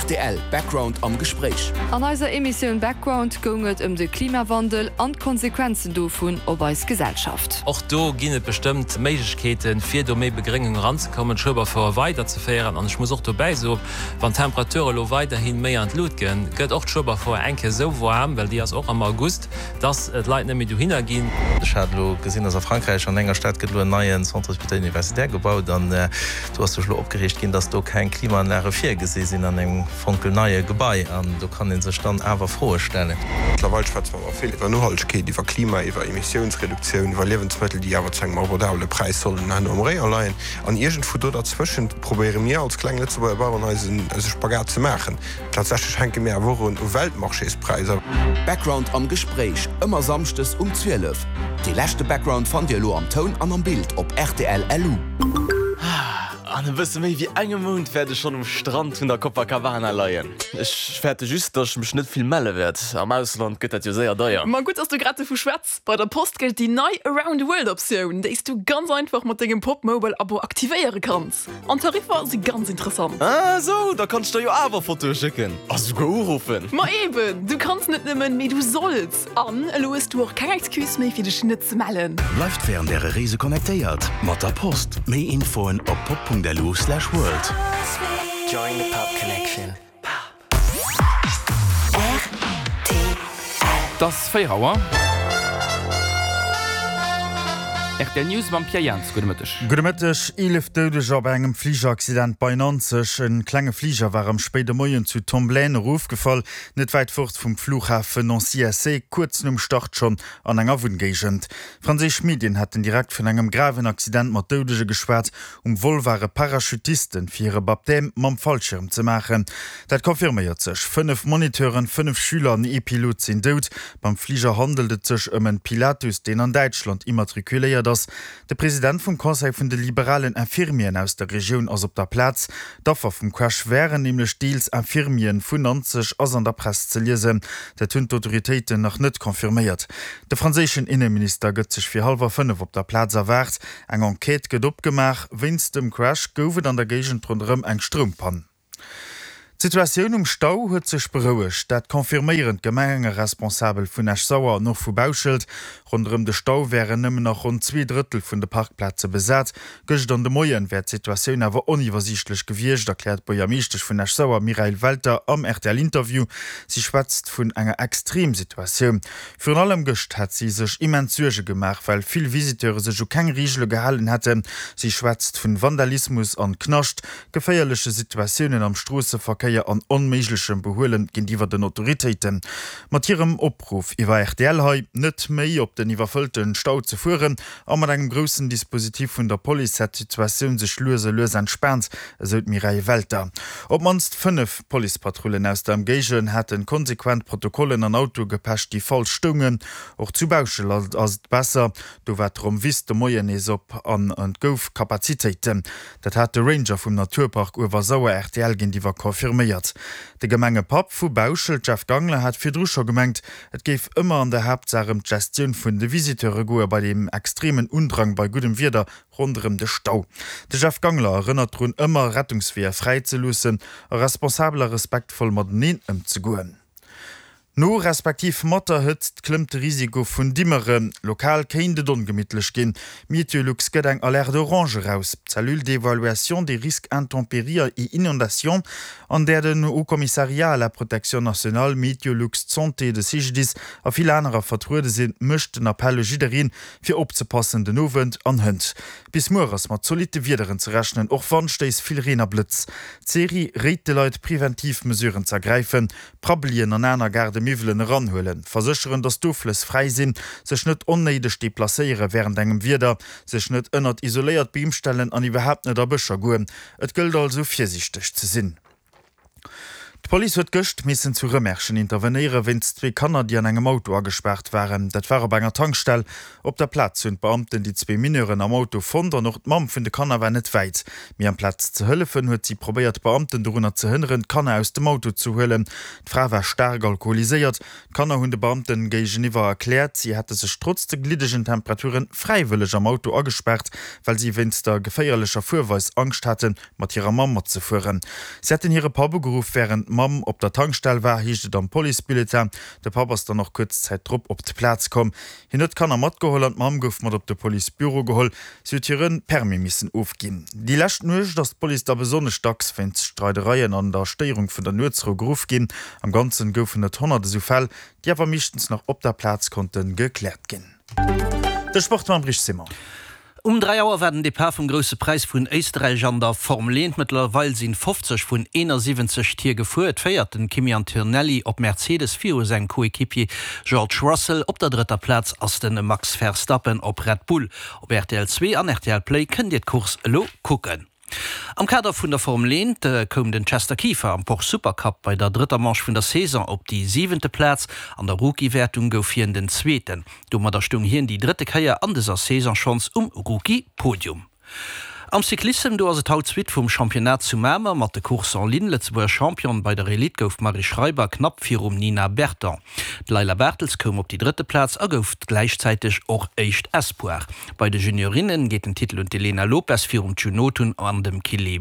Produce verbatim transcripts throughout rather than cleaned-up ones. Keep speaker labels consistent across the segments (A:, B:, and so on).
A: Rtl Background am Gespréich.
B: An eiser Emissioun Background goung et ëm de Klimawandel an d'Konsequenzen dovun op eis Gesellschaft.
C: Och do ginn et bestëmmt Méiglechkeeten, fir do méi Begréngung eranzekommen, d'Schueberfouer weiderzeféieren. An ech muss och dobäi soen, wann d'Temperature elo weiderhi méi an d'Lut ginn, gëtt och d'Schueberfouer eng Kéier esou waarm, well déi ass och am August, dass d'Leit net méi dohinner ginn.
D: Ech hat elo gesinn, dass a Frankräich an enger Stad gëtt elo en neien Centre hospitalier universitaire gebaut an do ass sech elo opgereegt ginn, dass do keng Klimaanlage virgesi sinn an engem fonkelneie Gebai an do kann ee sech dann awer Froe stellen.
E: Mëttlerweil schwätze mer awer vill iwwer Nohaltegkeet, iwwer Klima, iwwer Emissiounsreduktioun, iwwer Liewensmëttel, déi awer zu engem abordabele Präis sollen herno am Rayon leien. An iergendwou do derzwëschent probéiere mir als kleng Lëtzebuerger Baueren eisen eise Spagat ze maachen. Tatsächlech hänke mir awer och un u Weltmarchéspräisser.
A: Background am Gespréich, ëmmer samschdes um zwielef. Dee leschte Background fannt Dir elo am Toun an am Bild op rtl L U.
F: An e bësse méi wéi engem Mount wäert ech schonn um Strand vun der Copacabana leien. Ech fäerte just, datt ech mech net vill melle wäert. Am Ausland gëtt dat jo séier deier.
G: Ma gutt, dass du grad dovu schwätz. Bei der Post gëllt déi nei Around the World Optioun, déi s du ganz einfach mat dengem Pop-Mobile Abo aktivéiere kanns. An d'Tariffer si ganz interessant.
F: Ah sou, da kann ech der jo awer Fotoe schécken a souguer uruffen.
G: Ma eben, du kanns net nëmmen, mee du solls. An elo hues du och keng Excuse méi, fir dech net ze mellen.
H: Bleift wärend äre Reese connectéiert mat der Post. Méi Infoen op pop Punkt L U slash world.
I: Join the Pop Connection.
J: Et ass véier Auer. Rtl News mam Pierre Jans. Gudde Mëtteg.
K: Gudde Mëtteg. Eelef Doudeger bei engem Fligeraccident bei Nanzeg. En klenge Fliger war am spéide Moien zu Tomblaine erofgefall, net wäit fort vum Flughafen Nancy-S C, kuerz nom Start schonn an enger Wunngéigend. Franséisch Medien haten direkt vun engem graven Accident mat Doudege geschwat. Um Vol ware Parachutisten, fir hire Baptême mam Fallschierm ze maachen. Dat confirméiert sech. Fënnef Moniteuren, fënnef Schüler an ee Pilot sinn dout. Beim Fliger handelt et sech ëm en Pilatus, deen an Däitschland immatrikuléiert ass. De President vum Conseil vun de liberalen Infirmieren aus der Regioun ass op der Plaz. D'Affer vum Crash wären nämlech deels Infirmieren vun Nanzeg, ass an der Press ze liesen. Dat hunn d'Autoritéiten nach net confirméiert. De franséischen Inneminister gëtt sech fir hallwer fënnef op der Plaz erwaart. Eng Enquête gëtt opgemaach. Wéinst dem Crash gouf et an der Géigend ronderëm eng Stroumpann. D'Situatioun um Stau huet sech berouegt. Dat confirméieren d'Gemengeresponsabel vun Esch-Sauer an och vu Bauschelt. Ronderëm de Stau wären nëmmen nach ronn zwee Drëttel vun de Parkplaze besat. Gëscht an de Moien wär d'Situatioun awer oniwwersiichtlech gewiescht, erkläert d'Buergermeeschtesch vun Esch-Sauer Mireille Welter am R T L-Interview. Si schwätzt vun enger Extremsituatioun. Virun allem gëscht hätt si sech immens Suerge gemaach, well vill Visiteure sech u keng Reegele gehalen hätten. Si schwätzt vun Vandalismus an Knascht, geféierleche Situatiounen am Stroosseverkéier an onméiglechem Behuelen géintiwwer den Autoritéiten. Mat hirem Opruff iwwer R T L hei, net méi op den iwwerfëllte Stau ze fueren a mat engem groussen Dispositif vun der Police hätt d'Situatioun sech lues a lues entspaant, esou d'Mireille Welter. Op d'mannst fënnef Policepatrullen aus der Ëmgéigend hate konsequent Protokollen an Autoe gepecht, déi falsch stoungen. Och zu Bauschelt ass et besser, do war d'Rommwiss de Moien nees op an et gouf Kapazitéiten. Dat hat de Ranger vum Naturpark Uewersauer R T L géintiwwer confirméiert. De Gemengepapp vu Bauschelt, Jeff Gangler, hat virdru scho gemengt, et géif ëmmer an der Haaptsaach ëm d'Gestioun vun de Visiteure goe bei deem extremen Undrang bei guddem Wieder ronderëm de Stau. De Jeff Gangler erënnert drun, ëmmer Rettungsweeër fräi ze loossen a responsabel a respektvoll mateneen ëmzegoen. No respektiv mat der Hëtzt klëmmt de Risiko vun Dimmeren. Lokal kéint et ongemittlech ginn. Meteolux gëtt eng Alerte orange eraus. D'Cellule d'évaluation des risques intempéries et inondations, an där den Haut Commissariat à la protection nationale, Meteolux, d'Santé, de C G D I S a vill anerer vertruede sinn, mécht den Appell u jiddereen, fir opzepassen den Owend an hënt. Bis muer ass mat zolitte Wiederen ze rechnen, och Wandstéiss, vill Reen a Blëtz. D'Seri réit de Leit, preventiv Mesuren ze ergräifen, Prabbelien an aner Gaardemiwwelen eranhuelen, versécheren, datt d'Oflëss fräi sinn, sech net onnéideg deplacéiere wärend engem Wieder, sech net ënnert isoléiert Beem stellen an iwwerhaapt net a Bëscher goen. Et gëllt also virsiichteg ze sinn. D'Police huet gëscht missen zu Rëmerschen intervenéiere wéinst zwee Kanner, déi an engem Auto agespaart waren. Dat war op enger Tankstell. Op der Plaz hunn d'Beamten déi zwee Mineuren am Auto fonnt an och d'Mamm vun de Kanner war net wäit. Mee amplaz ze hëllefen, huet si probéiert d'Beamten dorunner ze hënneren, d'Kanner aus dem Auto ze huelen. D'Fra war staark alkoholiséiert. D'Kanner hunn de Beamten géigeniwwer erkläert, si hätte sech trotz de gliddegen Temperature fräiwëlleg am Auto agespaart, well si wéinst der geféierlecher Fuerweis Angscht haten, mat hirer Mamm matzefueren. Si hätten hire Papp ugeruff, wärend d'Mamm op der Tankstell war, heescht et am Policebulletin. De Papp ass dann och kuerz Zäit drop op d'Plaz komm. Hien huet d'Kanner matgeholl an d'Mamm gouf mat op de Policebüro geholl. Si huet hire Permis missen ofginn. Déi lescht Nuecht ass d'Police da besonnesch dacks wéinst Streidereien an der Stéierung vun der Nuetsrou geruff ginn. Am Ganzen goufen et honnert esou Fäll, déi awer meeschtens nach op der Plaz konnte gekläert ginn. De Sport mam Rich Simon.
L: Um dräi Auer war den Depart vum Grousse Präis vun Éisterräich an der Formel eent. Mëttlerweil sinn fofzeg vun eenasiwwenzeg Tier gefuer. Et féiert den Kimi Antonelli op Mercedes viru sengem Coéquipier George Russell. Op der drëtter Plaz ass de Max Verstappen op Red Bull. Op rtl zwee an rtl Play kënnt Dir d'Course elo kucken. Am Kader vun der Formel eent koum den Chester Kieffer am Porsche Supercup bei der drëtter Manche vun der Saison op déi siwente Plaz. An der Rookie-Wäertung gouf hien den Zweeten. Domadder stoung hien déi drëtte Kéier an dëser Saison schonns um Rookie-Podium. Am Cyclissem, do ass et haut d'Suite vum Championnat zu Mamer mat de Courses en ligne. Lëtzebuerger Championne bei der Elite gouf d'Marie Schreiber knapp virum Nina Berton. D'Layla Bartels koum op déi drëtte Plaz a gouf gläichzäiteg och éischt Espoir. Bei de Juniorinne geet den Titel un d'Elena Lopes virum June Notun an dem Kili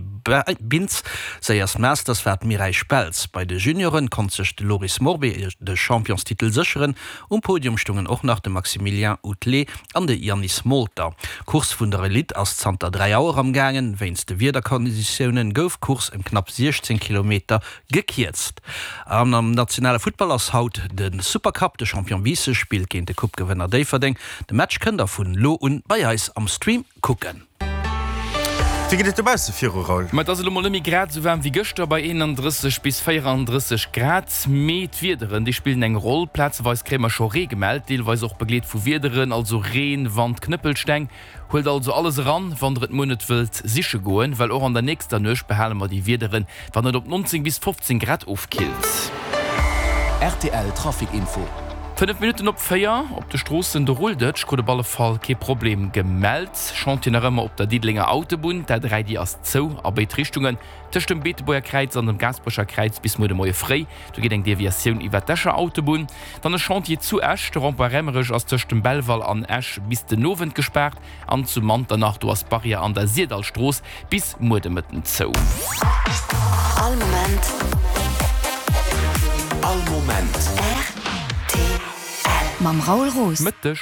L: Bintz. Séierst Masters war d'Mireille Speltz. Bei de Junioren konnt sech de Loris Morbé de Championstitel sécheren. Um Podium stoungen och nach de Maximilien Outelet an de Yannis Molter. D'Course vun der Elite ass zanter dräi Auer am gaangen. Wéinst de Wiederkonditiounen gouf d'Course ëm knapp siechzéng Kilometer gekierzt. An am nationale Futtball ass haut de Supercup. De Champion Biissen spillt géint de Coupe-Gewënner Déifferdeng. De Match kënnt der vun elo un bei eis am Stream kucken.
K: Wéi geet et dobausse viru, Raoul?
J: Ma et ass elo mol net méi grad esou waarm wéi gëschter, bei eenandrësseg bis véierandrësseg Grad. Mee d'Wiederen, déi spillen eng Roll. Plazeweis kréie mer scho Ree gemellt, deelweis och begleet vu Wiederen, also Reen, Wand, Knëppelsteng. Huelt also alles eran, wann der et muer net wëllt siche goen, well och an der nächster Nuecht behale mer déi Wiederen, wann et op neunzéng bis fofzéng Grad ofkillt.
A: Rtl Trafic Info.
J: Fënnef Minutten op véier, op de Stroossen, do rullt et. Ech krut op alle Fall kee Problem gemellt. Chantier nach ëmmer op der Diddelenger Autobunn, d'A dräi déi ass zou a béid Richtungen tëscht dem Beetebuerger Kräiz an dem Gaasperecher Kräiz bis muer de Moie fréi. Do geet eng Deviatioun iwwer d'Escher Autobunn. Dann e Chantier zu Esch, de Rond-point Raemerech ass tëscht dem Belval an Esch bis den Owend gespaart. An zu Manternach, do ass d'Barrière an der Syrdallstrooss bis muer de Mëtten zou.
M: All Moment.
A: All Moment.
M: Rtl. Mam Raoul Roos.
J: Mëtteg.